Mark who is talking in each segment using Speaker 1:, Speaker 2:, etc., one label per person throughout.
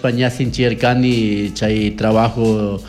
Speaker 1: Yachashpa ña sinchiyarkani chay trabajo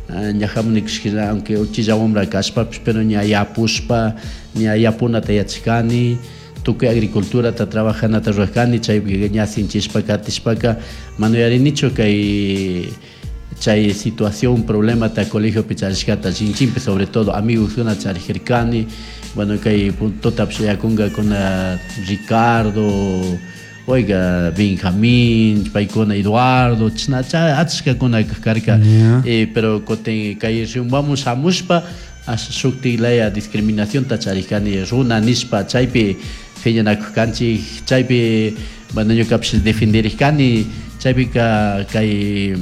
Speaker 1: ña hamunikushka, aunque uchilla wambra kashpapish, pero ña yapushpa ña yapunata yachashkani, tukuy agriculturata trabajanata rurajkani, chaypi ña sinchishpa katishpaka mana yuyarinichu kay chay situación problemata colegiopi charishkata chinchinpi, sobre todo amigosuna charijirkani. Bueno, kay puntotapish yakunkakuna Ricardo, oiga, Benjamín, paykuna Eduardo, chashna achkakuna karka. Pero kutin kay Riobambaman shamushpa shuktik laya discriminacionta charishkani runa nishpa, chaypi phiñanakuj kanchik, chaypi bueno ñukapish defenderishkani, chaypika kay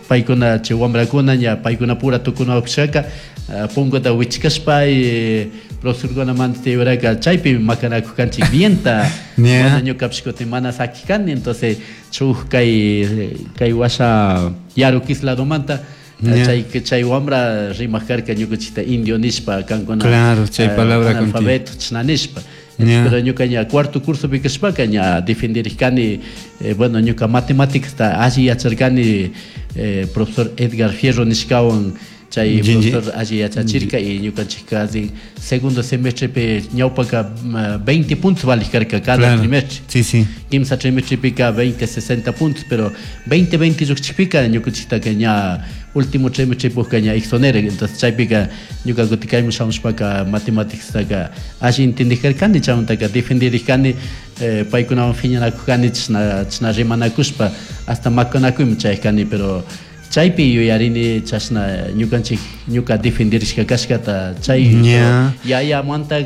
Speaker 1: paykuna chay wambrakuna ña paykuna pura tukunawakshaka punkuta wichkashpa profesorkuna mandachayuraka chaypi makanakuj kanchik bienta. Bueno, ñukapish kutin mana sakikani, entonces shuk kay washa Yaruquis ladomanta chay wambra rimak karka ñukanchikta indio nishpa, kankuna
Speaker 2: Claro, chay palabra
Speaker 1: analfabeto chashna nishpa. Pero ñuka ña cuarto cursopi kashpaka ña defenderishkani, bueno, ñuka matemáticasta alli yacharkani, profesor Edgar Fierro nishkawan, chay profesor alli yachachirka y ñukanchik casi segundo semestrepi ñawpaka 20 puntos valik karka cada trimestre.
Speaker 2: Sí, sí.
Speaker 1: Kimsa trimestrepika 20, 60 puntos, pero 20, 20 llukchikpika ñukanchiktaka ña último trimestrepukka ña exonera. Entonces chaypika ñuka kutin kayman shamushpaka matemáticastaka alli entendijkarkani, chaymantaka defendirikani, paykunawan phiñanakujkani, chashna chashna rimanakushpa hasta makanakuyman chayajkani, pero chaypi yuyarini chashna ñukanchik ñuka defendirishka kashkata chay yayamanta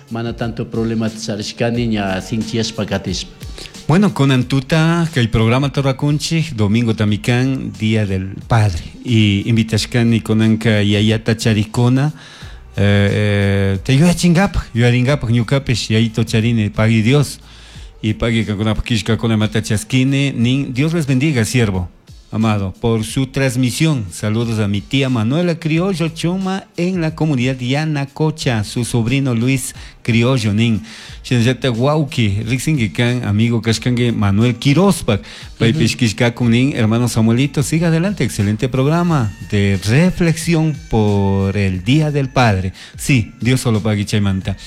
Speaker 1: mana tanto problemata charishkani ña sinchiyashpa katishpa.
Speaker 2: Bueno, kunan tuta kay programa rurakunchik domingo tamikan Día del Padre y invitashkani kunanka yayata charikuna te yuyachinkapak yuyarinkapak ñukapish yayito charini pagui Dios y pagui kankunapak killkakuna mata chaskini nin Dios les bendiga, siervo amado, por su transmisión. Saludos a mi tía Manuela Criollo Chuma en la comunidad Yanacocha, su sobrino Luis Criollo nin. Shinallata wauki, riksinki kan, amigo kashkanki Manuel Quirospak, paypish killkakun nin, hermano Samuelito, siga adelante, excelente programa de reflexión por el Día del Padre. Sí, Dios solo pagui chaymanta.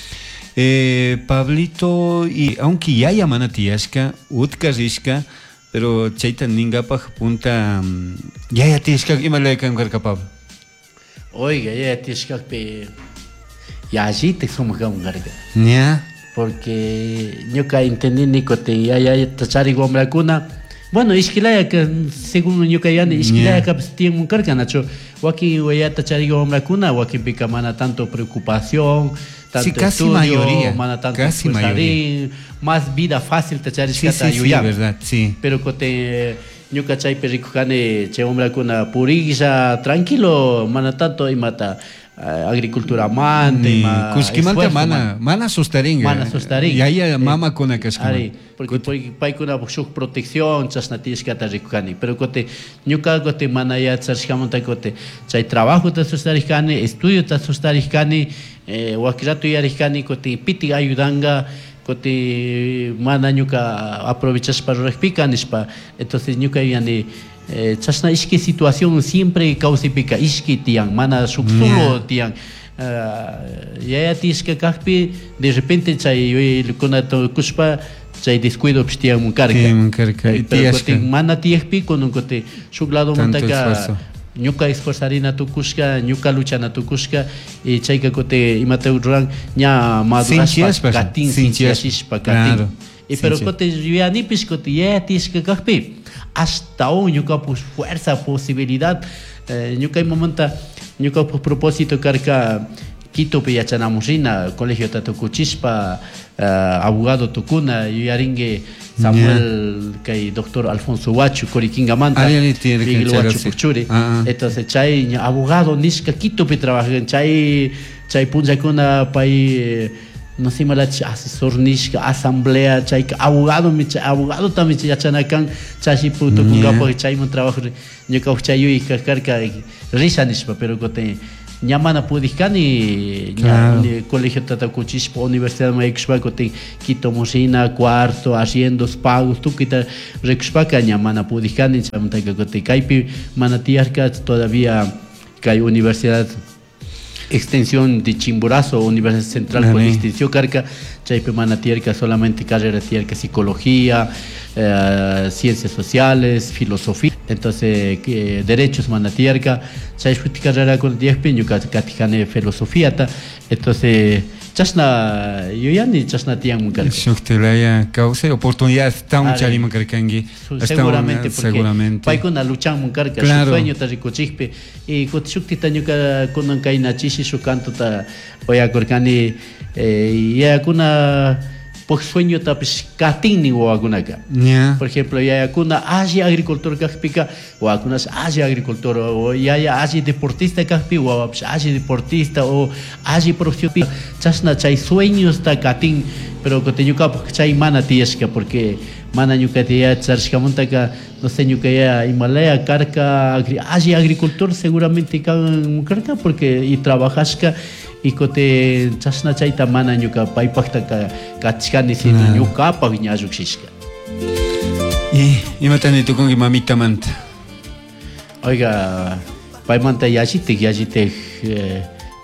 Speaker 2: Pablito, y aunque yaya mana tiyashka, utka rishka, pero chayta ningapaj punta yaya tiyashka ima laya kan karka, Pablo?
Speaker 1: Oiga, yaya tiyashkakpi yallitik sumak kan karka. Porque ñuka entendini kutin yaya charik wambrakuna, bueno, ishkilaya según ñuka yani ishkilaya kapish tiyanmun karka, nachu wakin yayata charik wambrakuna wakinpika mana tanto preocupación, tanto
Speaker 2: Sí, casi
Speaker 1: estudio,
Speaker 2: mayoría,
Speaker 1: mana tanto
Speaker 2: casi
Speaker 1: esforzarín,
Speaker 2: mayoría.
Speaker 1: más vida fácil te charishkata
Speaker 2: Sí, sí, sí,
Speaker 1: yuyan.
Speaker 2: verdad, sí.
Speaker 1: Pero kutin ñuka chaypi rikujani chay wambrakuna puriklla tranquilo, mana tanto imata agricultura manta,
Speaker 2: Ni
Speaker 1: ima
Speaker 2: kushkimanta
Speaker 1: esfuerzo,
Speaker 2: mana,
Speaker 1: man.
Speaker 2: mana sustaringa.
Speaker 1: Mana sustaringa.
Speaker 2: Yaya mama kuna kashka.
Speaker 1: Ari, porque paykuna shuk protección chashna tiyashkata rikujani. Pero kutin ñuka kutin mana yachashkamanta kutin chay trabajota sustarishkani, estudiota sustarishkani, wakillatu yuyarishkani kutin pitik ayudanga, kutin mana ñuka aprovechashpa rurajpika nishpa. Entonces ñuka yuyani, chashna ishki situación siempre kawsaypika ishki tiyan, mana shuk solo tiyan. Yaya tiyashka kakpi de repente chay yuyaykunata kushpa chay descuidopish tiyanmun karka.
Speaker 2: Tiyanmun karka, y
Speaker 1: Pero
Speaker 2: tiyashka.
Speaker 1: kutin mana tiyakpi kunan kutin shuk ladomantaka
Speaker 2: Tanto esfuerzo.
Speaker 1: ñuka esforzarina tukushka, ñuka luchana tukushka, y chayka kutin imata ruran ña madurashpa
Speaker 2: Sinchiyashpa,
Speaker 1: katin,
Speaker 2: sinchiyashpa.
Speaker 1: sinchiyashpa katin.
Speaker 2: Claro.
Speaker 1: Y pero
Speaker 2: Sinchi.
Speaker 1: kutin yuyanipish kutin yaya tiyashka kakpi hasta aún ñuka pues fuerza, posibilidad, ñuka imamanta ñuka pues propósito karka Quitopi yachanamun rina, colegio tukuchishpa, abogado tukuna, yuyaringue Samuel, kay doctor Alfonso Huacho, Coriquingamanta,
Speaker 2: Ari, ari, tiene que
Speaker 1: Miguel
Speaker 2: echar
Speaker 1: Huacho
Speaker 2: así.
Speaker 1: Puchuri.
Speaker 2: Ah, ah.
Speaker 1: Entonces, chay ña abogado nishka Quitopi trabajan, chay, chay punllakuna pay, no sé, malach asesor nishka, asamblea, chay abogado, mi chay, abogado también chay yachanakan, chay si puto con gapo, chay mon trabajo, ñuka chay yuyika karka, risa nishpa, pero kote, Ña mana pudijkani ña colegiota tukuchishpa universidadman yaykushpa kutin Quitoman rina cuarto, arriendos, pagos tukuyta rikushpaka ña mana pudijkani. Chaymantaka kutin kaypi mana tiyarka todavía kay universidad extensión de Chimborazo, Universidad Central con extensión karka, chaypi mana tiyarka, solamente carrera tiyarka psicología, ciencias sociales, filosofía, entonces derechos mana tiyarka, chay shuti carrerakuna tiyakpi ñuka katijani filosofiata, entonces chashna yuyani chashna tiyanman karka.
Speaker 2: Shuktilaya kawsay oportunidad ashtawan chariman karkanki.
Speaker 1: Seguramente, porque paykuna luchanman karka, shuk sueñota rikuchikpi. Y kutin shuktita ñuka kunan kayna chishi shuk cantota uyakurkani, yayakuna puk sueñotapish katinnin wawakunaka. Por ejemplo, yayakuna alli agricultor kakpika wawakunash alli agricultor, o yaya alli deportista kakpi wawapish alli deportista o alli profesión, chashna chay sueñosta katin, pero kutin ñukapak chay mana tiyashka, porque mana ñuka yaya charishkamantaka, no sé, ñuka yaya imalaya karka, alli agricultor seguramente kan karka, porque y trabajashka, y kutin chashna chayta mana ñuka paypaktaka katishkani, sino ñukapak ña llukshishka.
Speaker 2: Y imata ni tukunki mamitamanta?
Speaker 1: Oiga, paymanta yallitik, yallitik,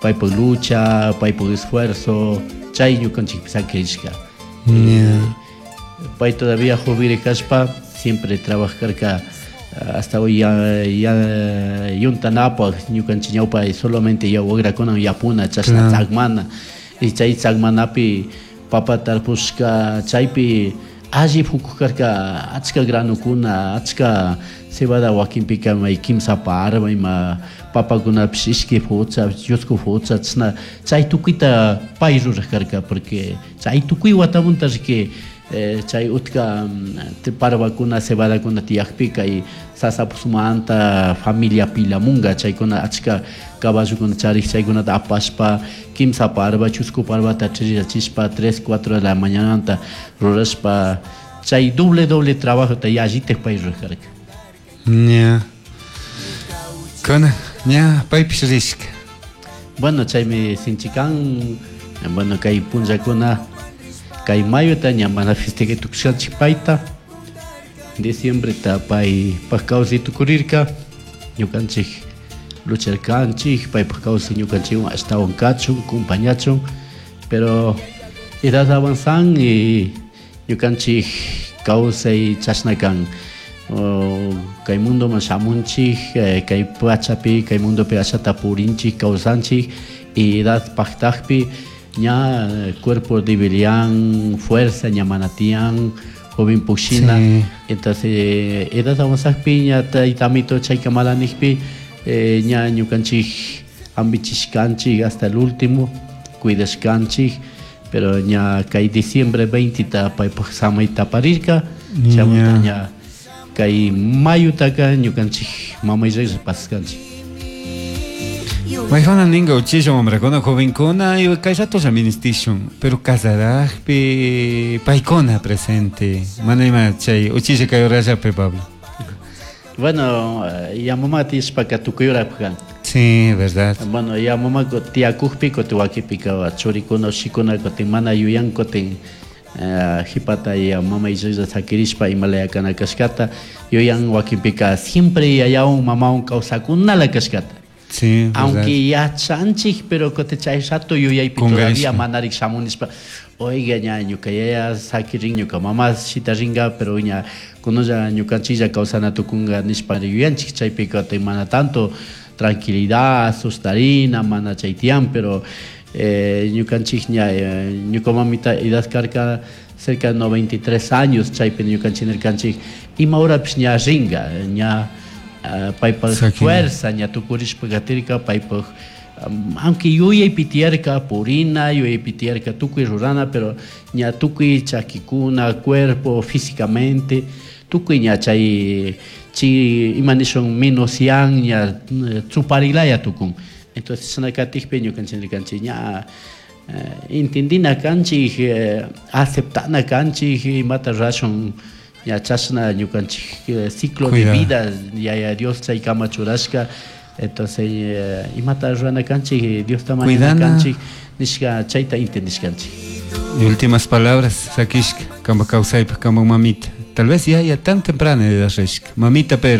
Speaker 1: paypak lucha, paypak esfuerzo, chay ñukanchikpi sakirishka. Pay todavía joven kashpa, siempre trabajarka hasta hoy ya, ya yuntanapaj ñukanchik ñawpa solamente ya wagrakuna yapuna chashna tzakmana, y chay tzakmanapi papa tarpushka chaypi alli pukuk karka, achka granukuna, achka cebada wakinpika may kimsa parba ima papakunapish ishki fucha, chusku fucha, chashna chay tukuyta pay ruraj karka, porque chay tukuy watamunta riki, chay utka parvakuna cebadakuna tiyakpika y sasapusmanta familia pilamunga chaykuna achka caballokuna charik chaykunata apashpa kimsa parva chusku parvata chiriyachishpa 3 4 de la mañananta rurashpa chay doble doble trabajota yallitik pay rurarka.
Speaker 2: Ña. Kuna ña paypish rishka.
Speaker 1: Bueno, chaymi sinchikan, bueno, kay punllakuna kay mayota ña mana festejay tukushkanchik payta, diciembreta paypak kawsay tukurirka, ñukanchik lucharkanchik, paypak kawsay ñukanchikwan ashtawan kachun, compañachun, pero edad avanzan y ñukanchik kawsay chashna kan. Kay mundoman shamunchik, kay pachapi, kay mundopi ashata purinchik, kawsanchik, y edad paktakpi ña cuerpo debilian, fuerza ña mana tiyan, joven pushina. Entonces edad avanzakpi ña taytamito chayka malanikpi, ña ñukanchik ambichishkanchik hasta el último, cuidashkanchik, pero ña kay diciembre 20 ta paypak samayta aparirka, chaymanta ña kay mayutaka ñukanchik mamay reyes paskanchik.
Speaker 2: Maijona ninga uchilla wamrakuna jovenkuna y kay ratolla ministishun, pero casarajpi paykuna presente, mana ima chay uchilla kay horallapi, Pablo.
Speaker 1: Bueno, ya mamá tiyashpaka tukuy horapaj kan.
Speaker 2: Sí, verdad.
Speaker 1: Bueno, ya mamá tiyakukpi kutin wakipika churikuna ushikuna kutin mana yuyan kutin, jipata ya mama islla sakirishpa imalaya kana kashkata yuyan wakinpika siempre yayawan mamawan kawsakunala kashkata.
Speaker 2: Sí, verdad.
Speaker 1: Aunque yachanchik, pero kutin chay rato yuyaypi todavía manarik shamunishpa, oiga ña ñuka yaya sakirin ñuka mama shitaringa, pero ña kunulla ñukanchilla kawsana tukunga nishpa yuyanchik chaypi kutin mana tanto tranquilidad, sustarina, mana chay tiyan, pero ñukanchik ña, ñuka mamita edad karka cerca de 93 años chaypi ñukanchik nirkanchik ima horapish ña ringa, ña paypak fuerza ña tukurishpa katirka, paypak, aunque yuyaypi tiyarka purina, yuyaypi tiyarka tukuy rurana, pero ña tukuy chakikuna, cuerpo, físicamente, tukuy ña chay chi ima nishun minosian ña chuparilaya tukun. Entonces chashna katikpi ñukanchik nirkanchik ña entendina kanchik, aceptana kanchik imata rurashun ña chashna ñukanchik ciclo de vida yaya Dios chaykama churashka, Entonces eh, imata rurana kanchik Diosta mañana kanchik nishka chayta entendishkanchik.
Speaker 2: Y últimas palabras, sakishka, kamba kawsaypaj, kamba mamita. Tal vez ya, ya tan temprana edad rishka. Mamita, pero...